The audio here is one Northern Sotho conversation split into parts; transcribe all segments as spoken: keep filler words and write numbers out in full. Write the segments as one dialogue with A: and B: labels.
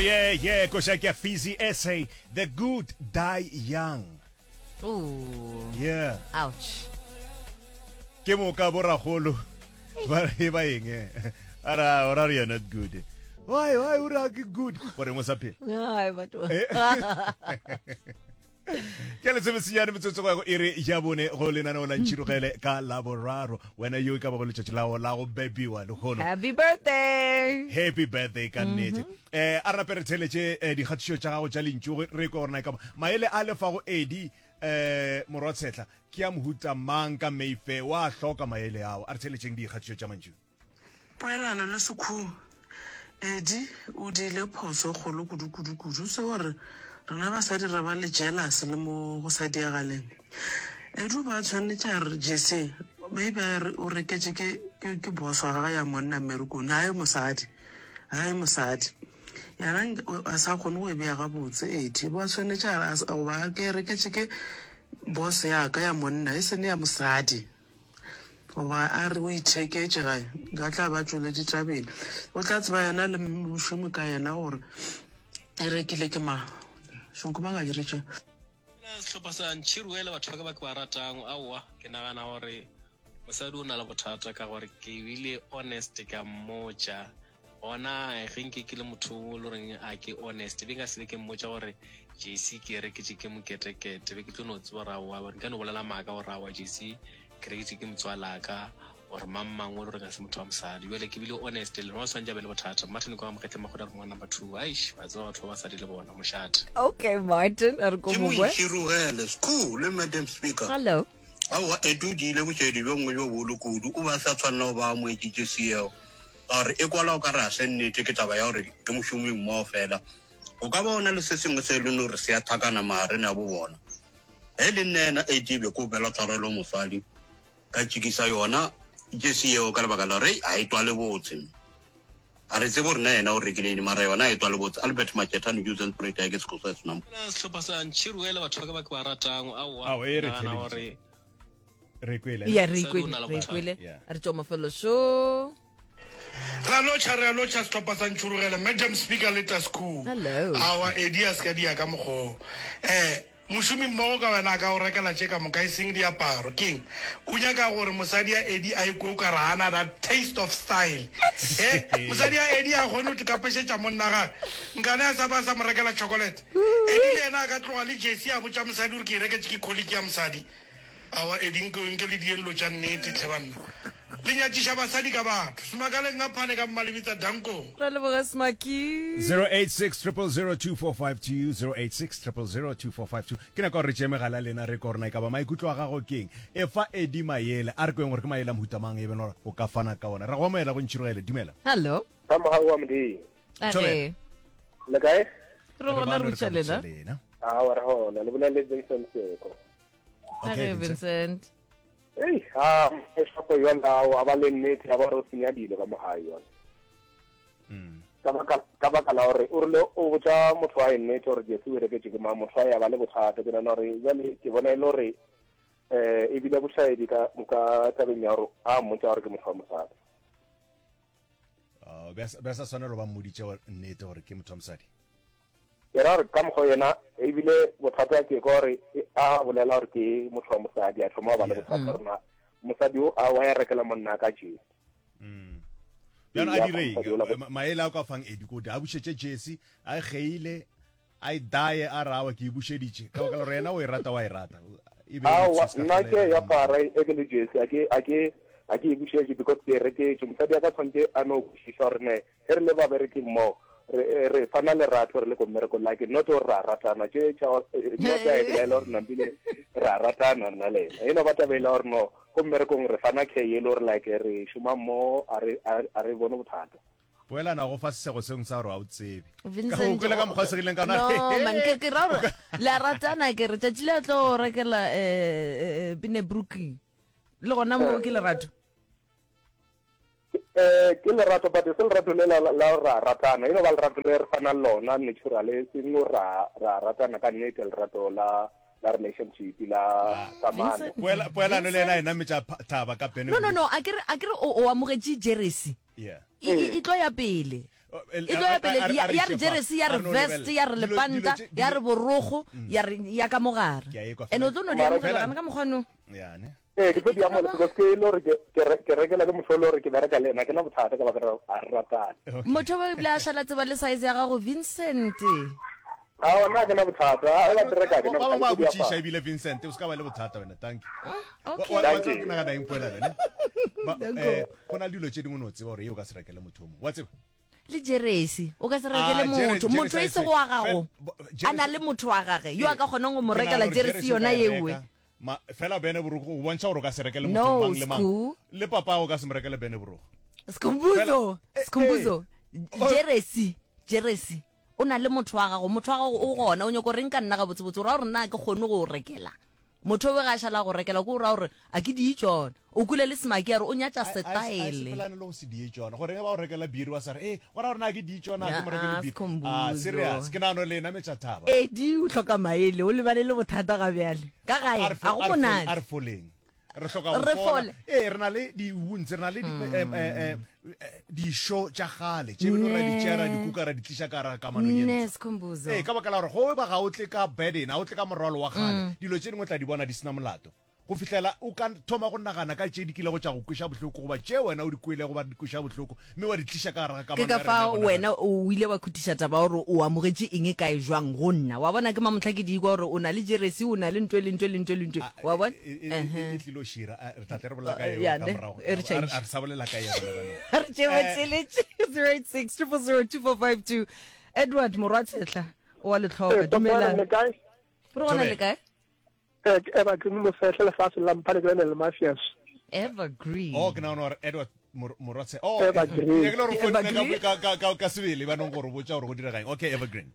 A: yeah yeah koša ke ya Fizzy S A, "The Good Die Young".
B: Ooh.
A: Yeah.
B: Ouch.
A: Ke moka boragolo ba re ba eng, eh? Ara ora re, "You're not good." Why why o re ke good gore mo sa phela?
B: Ai, batho.
A: Ke lesemesenyane metsotso go ya go iri ya bone go lenaneo la Ntšhirogele ka Laboraro. Wena yo e ka bago letšatši lao la go bebiwa lehono,
B: Happy birthday.
A: Happy birthday ka nnete. um a rape re theletše eh, dikgatišo tša gago tša lentšu, re kwe gore na e ka ba maele a lefago Edi um morwa Tshetlha ke a mohuta mang ka Mayfair wa hloka maele ao. A re theletšeng dikgatišo tša mantšu.
C: Poelano le Sekhuhu, Edi o diile phoso e kgolo kudu kudu kudu se gore rena basadi re ba le jealous le mo go sa diagaleng. Edi o ba tshwanetše a re Jesse maybe a re o reketše ke ke ke boss wa gagwe ya monna mmerekong, hae mosadi, hae mosadi. Yena a sa kgone go e beya gabotse. Edi ba tshwanetše a re goba ke reketše ke boss ya ka ya monna, e sene ya mosadi, goba a re o itheketše gae, ka tla ba tšwele ditabeng. O tla tseba yena le mošomi ka yena gore e rekile ke mang. Šonko ba ka diretše.
D: Sehlopha sa Ntšhiruele, batho ba ka ba ke ba ratang, aowa, ke nagana gore mosadi o na le bothata ka gore ke bile honest ka mmotša gona. Ge nke ke le motho o le goreng a ke honest, be nka se be ke mmotša gore J C ke reketše ke moketekete, be ke tlo no tseba gore aowa, nka no bolela maaka gore aowa, J C ke reketše ke motswalaka or mang mang o le gore ga se motho wa mosadi. Jale ke bile honest le rona, tshwanetse a be le bothata. Martin kwa mogetle magoda re ngwana number two. Aish, wa tseba batho ba basadi le bona mošate.
B: Okay, Martin, a re ko
E: Ke
B: mongwe.
E: Moitšhirogele school le Madam Speaker.
B: Hello.
E: Aowa, Edi o diile bošedi bjo nngwe bjo bolo kudu. O ba sa tshwanela go ba amoetšitše seo ka gore e kwala o ka re a se nnete. Ke taba ya gore ke mošomi mmogo fela, o ka ba o na le se sengwe se e leng gore se a thakana magareng a bo bona. Ge le nna ena Edi be ko opela tshwarelo mosadi ka tšikisa yona jesi yeo ka lebaka la gore ga e twale botse. A re tsebe gore na yena o rekile eng, mara yona e twale botse. Albert Makethane, Johannesburg, ke sekgosa senamo.
D: Sehlopha sa Ntšhiruele, batho ba ka ba ke ba ratang, aowa,
A: Ao, e re
D: nagana
A: theleditše.
D: gore
A: Re kwele.
B: Ya, re
D: Mosadi o
B: ikwele,
D: na le
B: re
D: bothata.
B: ikwele.
A: Yeah.
B: Re tšwa mafelo šo.
F: Ra lotšha, re a lotšha sehlopha sa Ntšhurugele, Madam Speaker le Tascool.
B: Hello.
F: Awa, Edi a se ka dia ka mokgoo. um mošomi mmogo ka wena a ka o rekela tše ka moka, e seng diaparo. Keng o nyaka gore mosadi ya Edi a ikwe o ka re gana that taste of style? E mosadi ya Edi a kgone go tikapešetša monna gage, nkane a sa ba sa mo rekela chocolate. Edi le yena a ka tloga le jersey, a botša mosadi gore ke e reketše ke colleague ya mosadi. Awa, Edi, nke nke le dieng lo tša nnete tlhe banna. Le nyatšiša basadi ka batho. Semakaleng ka phane ka mmalebitsa dankong.
B: Ra leboga, Smaki.
A: zero eight six zero zero zero two four five two, zero eight six zero zero zero two four five two. Ke nako gore re tšee megala lena, re ko rena e ka ba maikutlo a gago keng. E fa Edi maele, a re kweng gore ke maele a mohuta mang e beng gore o ka fana ka ona. Re go amogela go Ntšhirogele, dumela.
B: Hello.
G: Ka mogau wa Modimo.
B: Age.
G: Le kae?
B: Re gona, re
A: bano
B: botša
A: ka
B: lena.
A: botša lena.
G: Awa, re gona. Le bolela le Vincent Seko.
A: Okay,
B: Age.
A: Vincent.
B: Vincent.
G: Ei, ha eshapo yona a ba le nnete ya ba re o senya dilo ka mo gae yona.
A: Mm.
G: Ka baka ka baka la gore o rile o botša motho wa e nnete gore jersey o e reketše ke mang, motho wa ya ba le bothata. Ke nagana gore jale ke bona e le gore um ebile bošaedi ka ka tabeng ya gore a mmotša gore ke motho wa mosadi.
A: Oh, be a sa- be a sa swanelo ba mmoditše gore nnete gore ke motho wa mosadi.
G: Ke ra gore ka mokgwa yena ebile bothata ke ka gore a bolela gore ke motho wa mosadi, a thoma go ba le
A: Yeah.
G: bothata rona mosadi o a wa ya rekela monna ka jersey.
A: Mm. Bjano a
G: Ya,
A: direng?
G: mosadi ola-
A: Ma- maele a o ka fang Edi kode a bušetše jersey, a e kgeile, a e daye, a rawa ke e bušeditše ka baka la gore yena o e rata, wa e rata, e be e
G: Aowa,
A: excuse ka
G: nna
A: fela
G: ke
A: e
G: ya
A: rata.
G: para e ke le jersey, a ke a ke a ke e bušetše because ke e reketše. Mosadi a ka tshwanetse a no kwešiša gore ne ge re le babereki mmogo, re re fana lerato re le ko mmerekong, like not gore ra ratana tše tša not a e belaela gore nampile ra ratana nna le ena. E no ba taba e le gore no ko mmerekong re fana care e le gore like re šoma mmogo, a re a a re bone bothata.
A: Poelana go fa sesego sengwe sa gore ga o tsebe ka go
B: Vincent.
A: kwele ka mokgwa o segileng ka
B: No, man, ke ke ra gore le a ratana, ke re tšatši le a tlo rekela eh Pine Brooklyn. Le gona mo ke lerato.
G: Eh, ke lerato, but se lerato le la la ra ratana, e no ba lerato le re fanang lona natural, e seng gore ra ra ratana ka nnete, lerato la la relationship la kamano.
B: Vincent.
A: Poela- poelano le yena e nametša pha- thaba ka pene.
B: No no no, a ke re a ke re o o amogetše jersey.
A: Yeah.
B: E e- e tlo ya pele. E tlo ya pele ya ya re jeresi ya re vest ya re lepanta ya re borogo ya re ya ka mogare.
A: Ke a e kwa
B: And o tlo no di
G: Mara
B: amogela
A: fela-
B: gana ka mokgwa no.
A: Ya ne.
G: Ee, ke tlo di amogela because ke e le gore ke ke re- ke rekela ke motho e le gore ke bereka le ena, ke na bothata ka baka la gore ga re ratane.
B: Motho ba ebile a šala tseba le size ya gago Vincent.
G: Aowa, nna ga ke na bothata. Ga ba di reka, ga ke na
A: Ba bangwe
G: bothata,
A: ba
G: ke tlo di
A: botšiša
G: apara.
A: ebile Vincent, o se ka ba le bothata wena, thank you. Wa-
B: Okay.
A: wa- wa
G: Thank
A: tseba
G: you.
A: ke nagana eng poelano, ne? Ba- eh, go na le dilo tše dingwe no tseba gore ye o ka se rekele motho o mongwe. Wa tseba?
B: Le jeresi o ka se
A: Ah,
B: rekele
A: jere-
B: motho motho e
A: jeresi
B: sego wa gago
A: Fe- bo-
B: a na
A: jeresi-
B: le motho wa gage yo a ka kgonang go mo
A: Ke nagana
B: rekela
A: gore
B: jeresi
A: jeresi o
B: yona
A: ka e
B: yewe
A: reka. Ma- fela bene borogo o bontšha gore o ka se rekele
B: No,
A: motho mang le mang.
B: Sku.
A: Le papa o ka se mo rekele bene borogo.
B: Skhumbuzo
A: Fela- eh,
B: Skhumbuzo
A: eh.
B: jeresi jeresi o na le motho wa gago motho wa gago o gona o nyako reng ka nna gabotsebotse o ra gore nna ke kgone go o rekela motho o be ga a šala go rekela ke o ra gore a ke di tsona o kule le semaki a re o nyatša
A: A- a- a
B: setaele
A: sepelane le go se die tšona gore ge ba o rekela biri wa sa re e gora gore na ke di tšona ke mo rekele
B: Ah,
A: biri
B: Skhumbuzo.
A: ah serious ke nagano le nametša thaba
B: edi o hloka maele o lebane le bothata ga bjale ka gae
A: A re fo-
B: ga go
A: a re fo- a
B: monate
A: re foleng re hloka go
B: Re
A: fola.
B: fole.
A: ee re na le di-wounds re na le di- eh, eh, eh, dišo tša gale tše beno ra di tšea ra di kuka ra di tliša ka gare ga kamano ye
B: ne
A: ntsho.
B: Skhumbuzo
A: ee ka baka la gore go ba ga o tle ka burden ga o tle ka morwalo wa gale dilo tše dingwe tla di bona di sena molato go fihlela o ka thoma go nagana ka tše di kilego tša go kweša bohloko goba tše wena o di kwele goba di kweša bohloko mme wa di tliša ka gare ga
B: ke
A: kamano
B: ka
A: ya rena
B: fa
A: ya go
B: wena
A: nagana.
B: o ile wa khutiša taba gore o amogetše eng kae jwang go nna wa bona ke mamotlha ke di kwa gore o na le jeresi o na le ntho e le ntho e le ntho e le ntho
A: Ah,
B: wa bona
A: e- e- e- e tlilo šira Ah, re tla tle re bolela ka
B: Eh,
A: eo
B: ya,
A: ka
B: ne,
A: morago.
B: e re
A: A re-
B: change.
A: a re sa bolela ka yona bana.
B: re tšee batšheletše zero eight six triple zero two four five two Edward Morwatshetla o wa letlhoka
H: Eh,
B: dumelang
H: le kae?
B: re gona le kae
H: Eh, ke Evergreen Mofehle lefatshe la Mphane ke le Mafias.
B: Evergreen
A: oh ke nagana gore Edward Mor- Morwatse oh
H: Evergreen.
A: ke le gore o founile
B: Evergreen.
A: ka- ka- ka ka sebele ba nong gore o botša gore go direga eng okay Evergreen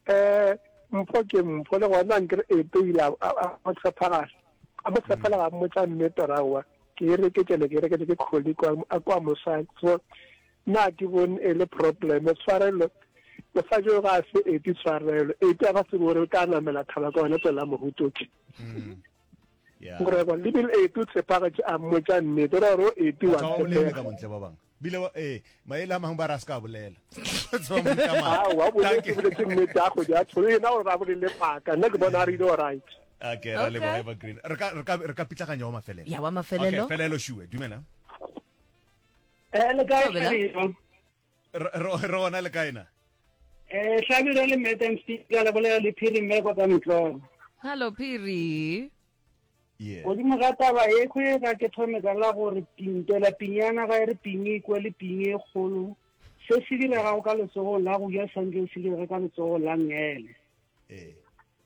H: Eh, mpho ke mpho le gona nkere epe o ile a a- a mo tshepagala. A mo tshepela ga mmotsa nnete ra wa. Ke e reketse le ke e reketse ke colleague wa a kwa mosadi. So nna ha ke bone e le problem tshwarelo mosadi o ga a se ete tshwarelo ete a ba tsebe gore o tla namela thaba ka yona tsela mohutoke
A: yeah
H: gore kwa lebile ete o tshepagetše a mmotsa nnete ra gore o ete wa
A: Batho ba bolele
H: tshepega
A: ka montle ba bangwe bile wa- ee maele a mangwe ba re a se ka bolela Tswa mo ka
H: Aowa,
A: maaka.
H: o boletse
A: Thank you.
H: boletse nnete ya kgodi ya tsholo ena gore ba bolele paka nna ke bona a rile alright
A: okay ra leboga
B: Okay.
A: Evergreen re ka re ka re ka pitlaganya wa mafelelo
B: Ya, wa mafelelo.
A: okay felelo shuwe dumela
I: Eh, le kae
B: Thobela.
I: Hlabirwa?
A: re re- re gona le kae na
I: Eh, Hlabirwa le Madam Speaker le bolela le Phiri mme kwa Mtlolo.
B: hello Phiri
A: yeah
I: Godimo ga taba e kgwe ga ke thome ka la gore pintela pinyana ga e re pinye e kwe le pinye e kgolo. Se se diregago ka letsogong la go ja santse se direge ka letsogong la ngele.
A: ee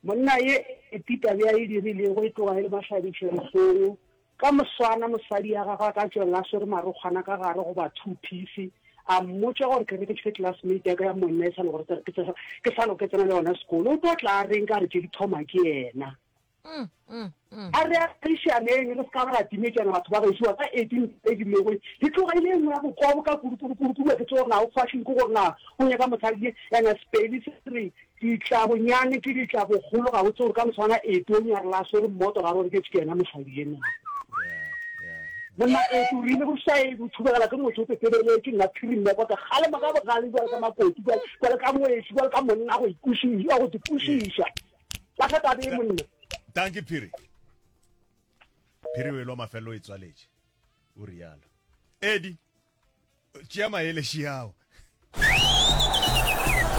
I: Monna ye e titabe a e dirilego e tloga e le mahlabiša dihlong. Ka moswana mosadi ya gagwe a ka tswelela a swere marokgwana ka gare goba two piece a mmotša gore ke reketše classmate ya ka ya monna e sa le gore ke tse- ke sa lo ke tsena le yona sekolo o tlo tla a reng ka re tše di thoma ke yena
B: Mm, mm, mm.
I: a re agišaneng re se ka ba ra timetšana batho ba gešoa ka eighteen edilego e tloga e le e nngwe ya bokobo ka kudu-kudu-kudu-kudu ke tse gore na o fashion ke gore na o nyaka mosadi ene sepedi se re ditlabonyane ke ditlabogolo ga o tse gore ka moswana ete o nyarela a swere mmoto ga re gore ke ke yena mosadi ena
A: yeah yeah
I: monna ete o rile go sae o thubegela ke motho o pepebeletše nna phiri mme kwa ka kgalema ka bogale jwale ka makoti jwale jwale ka moesi jwale ka monna go ikwešiša go ikwešiša ba tlha tabe e monna
A: thank you Phiri Phiri o elwa mafelelo o e tswaletše o rialo Eddie tšea maele šiao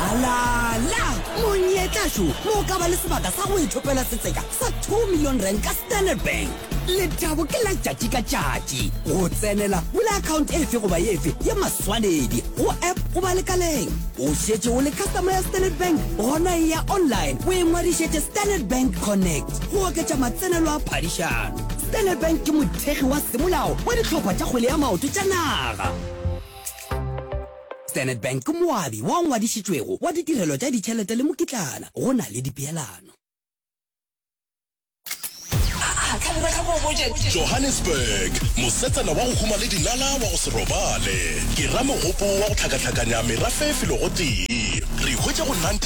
J: Alala! Monyetla šo mo o ka ba le sebaka sa go ithopela setseka sa two million rand ka Standard Bank. Lethabo ke la tšatši ka tšatši. Go tsenela, bula account efe goba efe ya maswanedi go app goba lekaleng. O šetše o le customer ya Standard Bank, gona e ya online o ingwadišetše Standard Bank Connect go oketša matsenelo a phadišano. Standard Bank ke mothekgi wa semolao wa dihlopha tša kgwele ya maoto tša naga. Standard Bank ke moabi wa ngwadišitšwego wa ditirelo tša ditšhelete le mokitlana go na le dipeelano.
K: Johannesburg, mosetsana wa go huma le dinala wa go se robale. Ke ramogopo wa go hlakahlakanya merafe felo gotee. Re hwetša go ninety